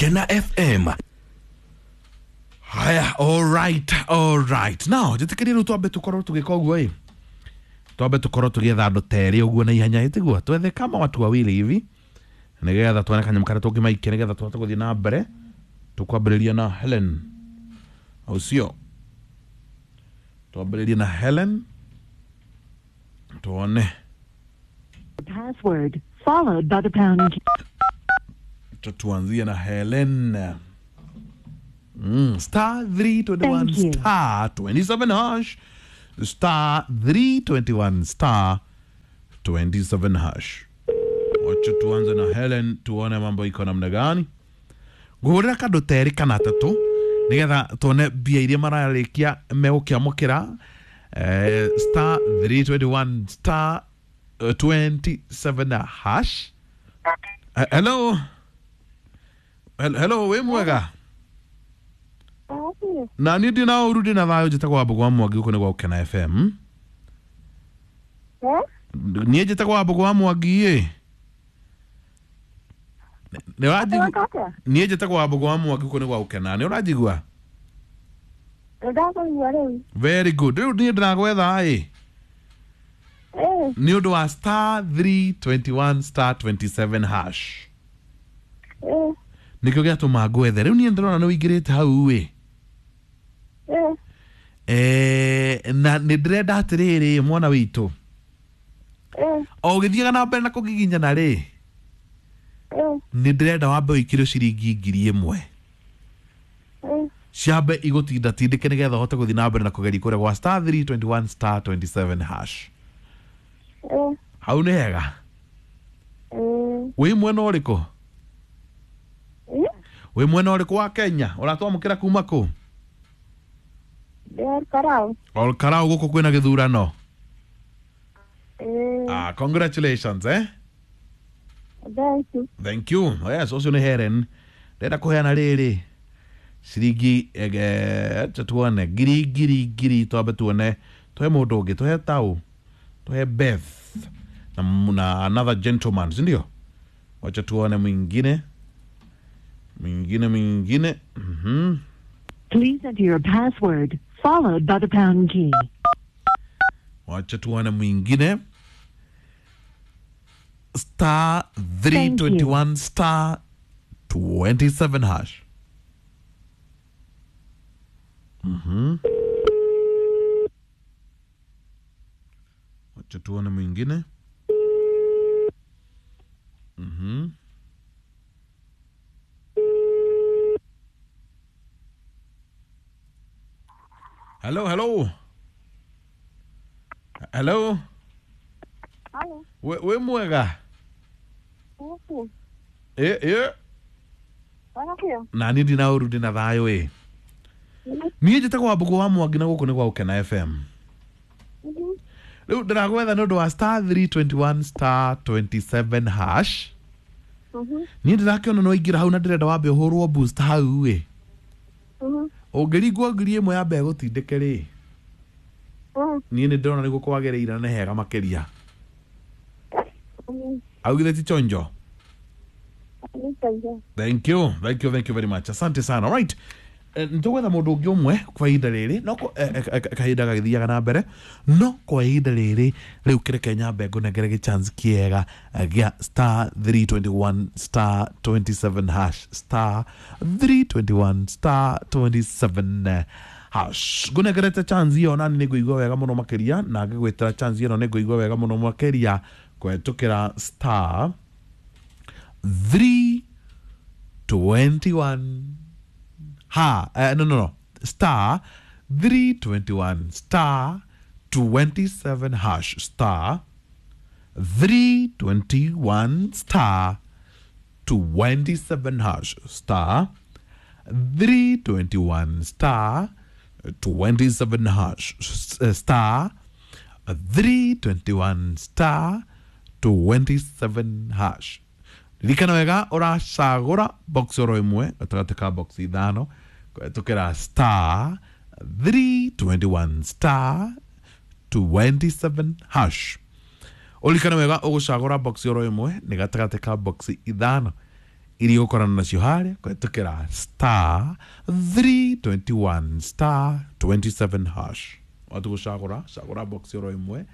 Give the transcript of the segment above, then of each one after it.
Gukena FM. Haya, all right, all right. Now, njĩtĩkĩrie rĩu twambe tũkorwo tũgĩka ũguo ĩ, twambe tũkorwo tũgĩetha andũ ta erĩ ũguo na ihenya, ĩtiguo twethe kama watu wawili hivi nĩgetha tuone kanyamũ karĩa tũngĩmaikia nĩgetha tũhote gũthiĩ na mbere. Tũkwambĩrĩria na Helen, au sio? Twambĩrĩrie na Helen tuone. Password followed by the pound key. Tuanzie na Helen. Star 321 Thank you. star 27 hash, star 321 star 27 hash. Wacha tuanze na Helen tuone mambo iko namna gani. Ngũhũrĩra kandũ ta erĩ kana atatũ nĩgetha tuone mbia iria mararĩkia megũkĩamũkĩra, star 321 star 27 hash. Hello. Hello, wĩ mwega? Na niĩ ndĩ na ũru, ndĩ na thayũ. Njĩtagwo Wambũgũ wa Mwangi, gũkũ nĩ gwa Gũkena FM. Niĩ njĩtagwo Wambũgũ wa Mwangi ĩ. Nĩ ũranjigua? Niĩ njĩtagwo Wambũgũ wa Mwangi, gũkũ nĩ gwa Gũkena. Nĩ ũranjigua? Ndakũigua rĩu. Very good. Rĩu niĩ ndĩragwetha ĩ nĩ ũndũ wa star 321 star 27 hash. Nĩkĩo gĩatũma ngwethe. Rĩu niĩ ndĩrona nĩ ũingĩrĩte hau ĩ. Na nĩ ndĩrenda atĩrĩrĩ, mwana witũ, o ũgĩthiaga na mbere na kũgiginyana rĩ, nĩ ndĩrenda wambe ũikĩrio ciringi 1,000 ciambe igũtinda tindĩke nĩgetha ũhote gũthiĩ na mbere na kũgeria kũrĩa gwa star 321 star 27 hash. Hau nĩ hega. Wĩ mwena ũrĩkũ? Wĩ mwena ũrĩkũ wa Kenya? Ũratwamũkĩra kuma kũ? Ndĩ Karau. Ol Karau, gũkũ kwĩna gĩthurano. Ah, congratulations, eh. Thank you. Thank you. Yes, ũcio nĩ Helen. Ndĩrenda kũheana rĩrĩ ciringi, acha tuone, ngiri ngiri ngiri, twambe tuone, tuhe mũndũ ũngĩ, tuhe tau, tuhe Beth na another gentleman, si ndio? Wacha tuone mwingine, mwingine, mwingine. Please enter your password followed by the pound key. Wacha tuone mwingine. Star Thank you. 321 star 27 hash. Wacha tuone mwingine. Hello, hello. Hello. Halo. We mwega? Thank Ĩ ĩ. you. Na niĩ ndina ũru, ndĩna thayũ ĩ. Niĩ njĩtagwo Wambũgũ wa Mwangi na gũkũ nĩ gwa Gũkena FM. Rĩu ndĩragwetha nĩ ũndũ wa star 321 star 27 hash. Niĩ ndĩrakĩona nĩ waingĩra hau na ndĩrenda wambe ũhũrwo boost hau ĩ. Ũngĩringwo 1,000 yambe ĩgũtindĩke rĩ, niĩ nĩ ndĩrona nĩguo kwagĩrĩire na nĩ hega makĩria. Augire ti chonjo. Thank you, thank you, thank you very much. Asante sana. All right. Nĩtũgwetha mũndũ ũngĩ ũmwe kwa ihinda rĩrĩ, no kahinda gagĩthiaga na mbere, no kwa ihinda rĩrĩ rĩu kĩreke nyambe ngũnengere gĩchance kĩega, gĩa star 321 star 27 hash, star 321 star 27 hash. Ngũnengerete chance ĩyo nani nĩ ngũigua wega mũno makĩria, na ngĩgwĩtĩra chance ĩno nĩ ngũigua wega mũno makĩria kũhetũkĩra star 321 ha, no, no, no, star 321 star 27 hash, star 321 star 27 hash, star 321 star 27 hash, star 321 star 27 hash. Ririkana wega, ũracagũra box oro ĩmwe gatagatĩ ka box ithano kũhetũkĩra star 321 star 27 hash. Ũririkane wega, ũgũcagũra box oro ĩmwe nĩ gatagatĩ ka box ithano. Iria ũkorana nacio harĩa kũhetũkĩra star 321 star 27 hash. Watu gũcagũra cagũra box oro ĩmwe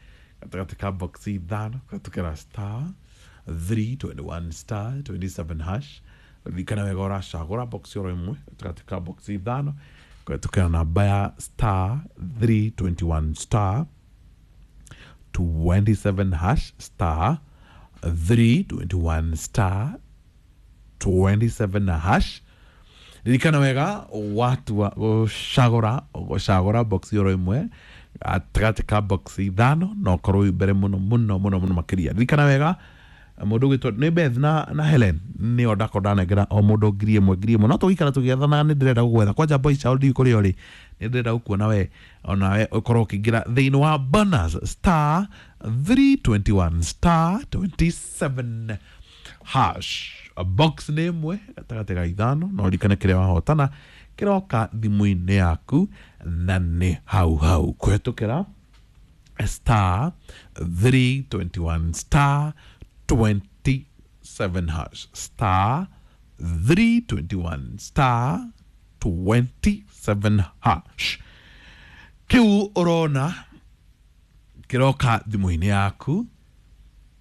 gatagatĩ ka box ithano kũhetũkĩra star 321 star 27 hash. Ririkana wega ũracagũra box oro ĩmwe gatagatĩ ka box ithano kũhetũkĩra namba ya star 321 star 27 hash, star 321 star 27 hash. Ririkana wega watua gũcagũra gũcagũra box oro ĩmwe gatagatĩ ka box ithano na ũkorwo wĩ mbere mũno mũno mũno mũno makĩria. Ririkana wega mũndũ ũgwĩtwo nĩ Beth na Helen nĩo ndakorwo ndanengera o mũndũ 1000 1000 no tũgĩikara tũgĩethana. Nĩ ndĩrenda gũgwetha kwanja boy child ndiũĩ kũrĩa ũrĩ, nĩ ndĩrenda gũkuona we onawe ũkorwo ũkĩingĩra thĩinĩ wa bonus star 321 star 27 hash. Box nĩ ĩmwe gatagatĩ ga ithano na ũririkane kĩrĩa wahotana kĩroka thimũ-inĩ yaku na nĩ hau hau kũhetũkĩra star 321 star 27 hash, star 321 star 27 hash. Kĩu ũrona kĩroka thimũ-inĩ yaku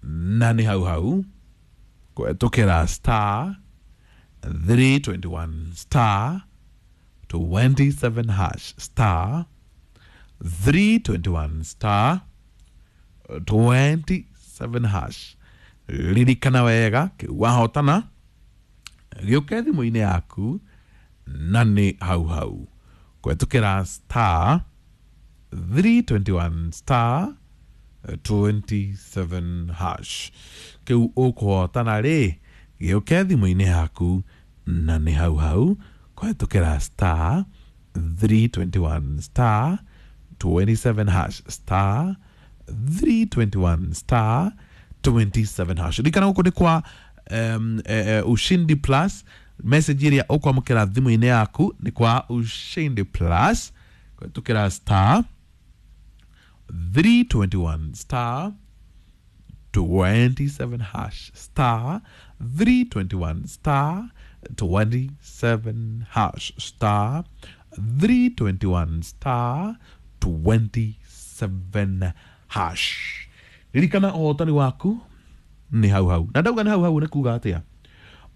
na nĩ hau hau kũhetũkĩra star 321 star 27 hash, star 321 star 27 hash. Ririkana wega kĩu wahotana gĩũke thimũ-inĩ yaku na nĩ hau hau kũhetũkĩra star 321 star 27 hash. Kĩu ũkũhotana rĩ gĩũke thimũ-inĩ yaku na nĩ hau hau kũhetũkĩra star 321 star 27 hash, star 321 star 27 hash. Ririkana gũkũ nĩ kwa Ushindi Plus. Message ĩrĩa ũkwamũkĩra thimũ-inĩ yaku nĩ kwa Ushindi Plus kũhetũkĩra star 321 star 27 hash, star 321 star 27 hash, star 321 star 27 hash. Ririkana ũhotani waku nĩ hau hau na ndauga nĩ hau hau nĩ kuga atĩa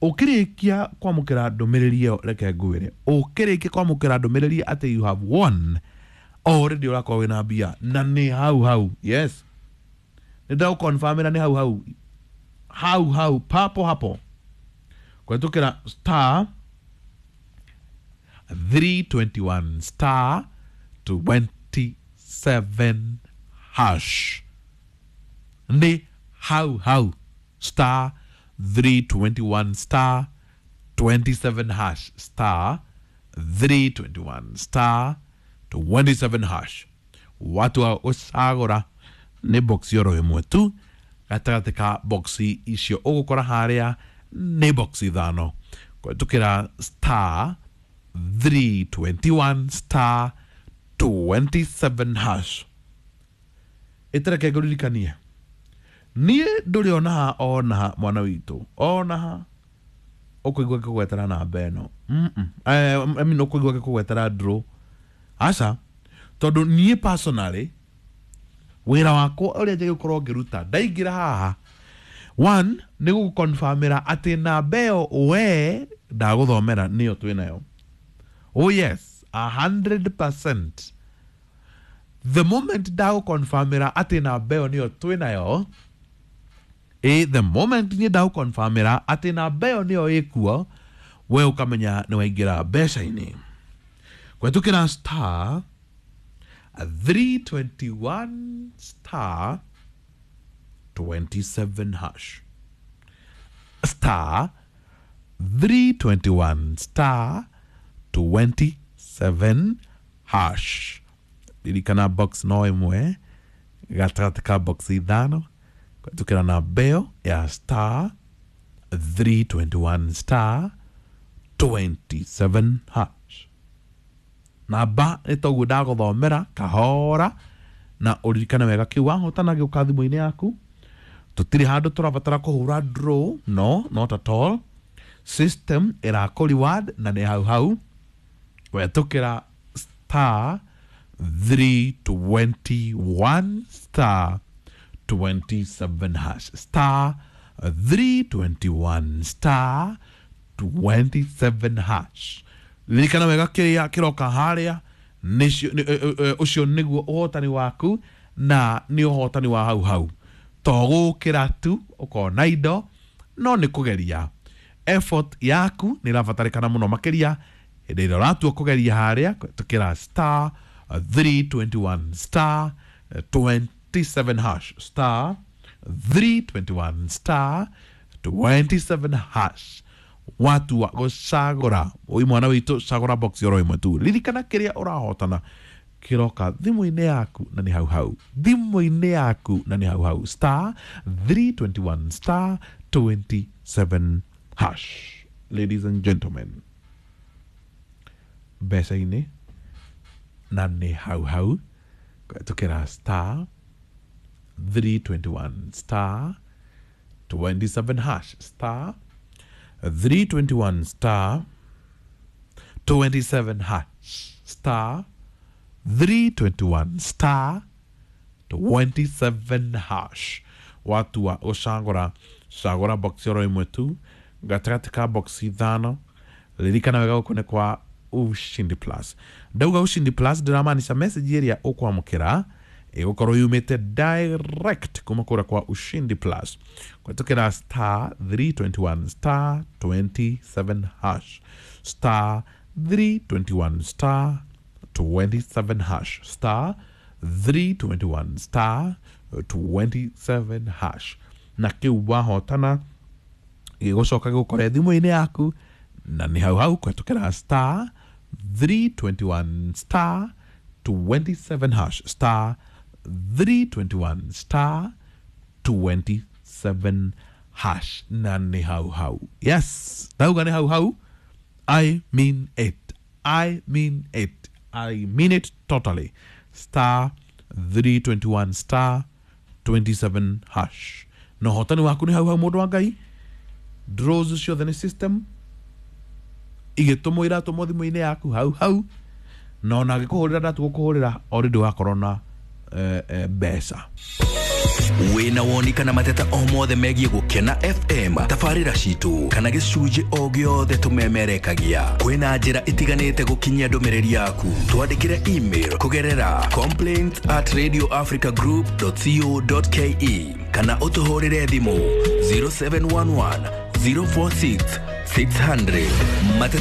ũkĩrĩkia kwamũkĩra ndũmĩrĩri ĩyo, reke ngwĩre ũkĩrĩkia kwamũkĩra ndũmĩrĩri atĩ you have won already ũrakorwo wĩna mbia na nĩ hau hau. Yes, nĩ ndagũconfirmĩra nĩ hau hau hau hau papo hapo kũhetũkĩra star 321 star 27 hash. Nĩ hau hau star 321 star 27 hash, star 321 star 27 hash. Watu wa ũcagũra nĩ box oro ĩmwe tu gatagatĩ ka box icio ũgũkora harĩa nĩ box ithano kũhetũkĩra star 321 star 27 hash. Ĩtereke ngũririkanie niĩ ndũrĩ onaha onaha mwana witũ onaha ũkũigua ngĩkũgwetera namba ĩno. I mean ũkũigua ngĩkũgwetera draw aca, tondũ niĩ personally wĩra wakwa ũrĩa njagĩrĩirwo gũkorwo ngĩruta ndaingĩra haha one nĩ gũgũconfirmĩra atĩ namba ĩyo we ndagũthomera nĩyo twĩnayo. Oh yes, 100%. The moment ndagũconfirmĩra atĩ namba ĩyo nĩyo twĩnayo, the moment niĩ ndagũconfirmĩra atĩ namba ĩyo nĩyo ĩkuo, we ũkamenya nĩ waingĩra mbeca-inĩ kũhetũkĩra star 321 star 27 hash, star 321 star 27 hash. Ririkana box no ĩmwe gatagatĩ ka box ithano kũhetũkĩra namba ĩyo ya star 321 star 27 hash. Namba nĩ toguo ndagũthomera kahora na ũririkane wega kĩu wahotana gĩũka thimũ-inĩ yaku. Tũtirĩ handũ tũrabatara kũhũra draw, no, not at all. System ĩrakũ reward na nĩ hau hau kũhetũkĩra star 321 star 27 hash, star 321 star 27 hash. Ririkana wega kĩrĩa kĩroka harĩa ũcio nĩguo ũhotani waku, na nĩ ũhotani wa hau hau, to gũkĩra tu ũkona indo, no nĩ kũgeria. Effort yaku nĩ ĩrabatarĩkana mũno makĩria hĩndĩ ĩrĩa ũratua kũgeria harĩa kũhetũkĩra star 321 star 27 hash, star 321 star 27 hash. Watua gũcagũra ũi mwana witũ, cagũra box oro ĩmwe tu. Ririkana kĩrĩa ũrahotana kĩroka thimũ-inĩ yaku na nĩ hau hau, thimũ-inĩ yaku na nĩ hau hau, star 321 star 27 hash. Ladies and gentlemen, mbeca-inĩ na nĩ hau hau kũhetũkĩra star 321 star 27 hash, star 321 star 27 hash, star 321 star 27 hash. Watua ũcagũra, cagũra box oro ĩmwe tu gatagatĩ ka box ithano. Ririkana wega gũkũ nĩ kwa Ushindi Plus. Ndauga Ushindi Plus ndĩramaanisha message ĩrĩa ũkwamũkĩra ĩgũkorwo yumĩte direct kuma kũrĩa kwa Ushindi Plus kũhetũkĩra star 321 star 27 hash, star 321 star 27 hash, star 321 star 27 hash. Na kĩu wahotana gĩgũcoka gĩgũkore thimũ-inĩ yaku na nĩ hau hau kũhetũkĩra star 321 star 27 hash, star 321 star 27 hash, na nĩ hau hau. Yes, ndauga nĩ hau hau. I mean it, I mean it, I mean it totally. Star 321 star 27 hash, na ũhotani waku nĩ hau hau, mũndũ wa Ngai. Draws ciothe nĩ system igĩtũmwo, iratũmwo thimũ-inĩ yaku hau hau, na ona angĩkũhũrĩra ndatũgũkũhũrĩra already wakorwo na mbeca. Wĩna woni kana mateta o mothe megiĩ Gũkena FM, tabarĩra citũ kana gĩcunjĩ o gĩothe tũmemerekagia, kwĩna njĩra itiganĩte gũkinyia ndũmĩrĩri yaku. Twandĩkĩre email kũgerera complaints@radioafricagroup.co.ke kana ũtũhũrĩre thimũ 0711 046 600. Mateta